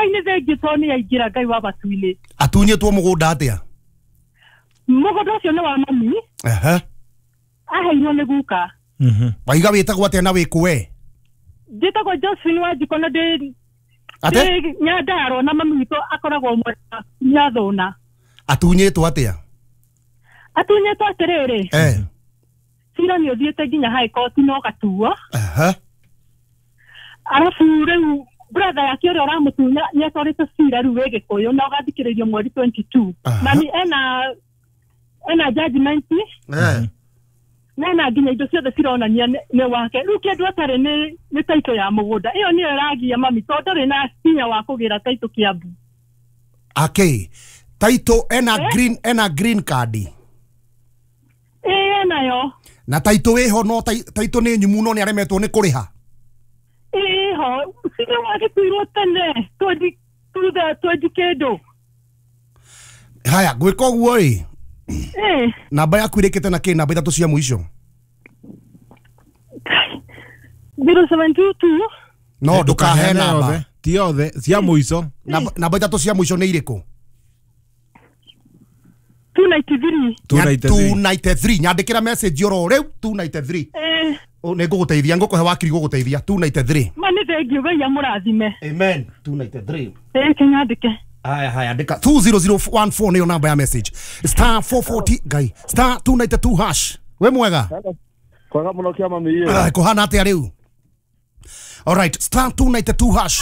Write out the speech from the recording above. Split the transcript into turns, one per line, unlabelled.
Ngai nĩ thengiũ tondũ nĩ aingĩra Ngai wa matu-inĩ.
Atunyĩtwo mũgũnda atĩa?
Mũgũnda ũcio nĩ wa mami.
Ehe.
Aheirwo nĩ guka.
Waiga wĩtagwo atĩa na wĩkũ we?
Njĩtagwo Josephine Wanjikũ na ndĩ
Ate?
ndĩ Nyandarua na mami witũ akoragwo mwena Nyathũna.
Atunyĩtwo atĩa?
Atunyĩtwo atĩrĩrĩ.
Eh.
Cira nĩ ũthiĩte nginya high court na ũgatuo.
Ehe.
Arabu rĩu brother yake ũrĩa ũramũtunya nĩ atwarĩte cira rĩu wĩ Gĩkũyũ na ũgathikĩrĩrio mweri 22.
Aha.
Mami ena judgment.
Eh.
Na ena nginya indo ciothe cironania nĩ wake. Rĩu kĩndũ atarĩ nĩ title ya mũgũnda. Ĩyo nĩyo ĩragia mami tondũ ndarĩ na hinya wa kũgĩra title Kiambu.
Akĩ. Title ena green, ena green card.
Ĩĩ enayo.
Na title ĩho no title nĩ nyumu no nĩ aremetwo nĩ kũrĩha.
Ĩho cira wagĩtuirwo tene 20 kĩndũ.
Haya gwĩka ũguo ĩ.
Ĩĩ.
Namba yaku ĩrĩkĩte na kĩ? Namba ithatũ cia mũico.
0722.
No ndũkahe namba.
Ti othe cia mũico.
Namba ithatũ cia mũico nĩ irĩkũ?
293.
293. Nyandĩkĩra message oro rĩu 293.
Eh.
Nĩ ngũgũteithia, ngũkũhe wakiri gũgũteithia 293.
Ma nĩ thengiũ Ngai amũrathime.
Amen. 293.
Ĩĩ kĩnyandĩke.
Haya haya andĩka 20014 nĩyo namba ya message. Star 440 Ngai. Star 292 hash. We mwega?
Kwega mũno kĩama mĩĩ.
Kũhana atĩa rĩu? All right, star 292 hash.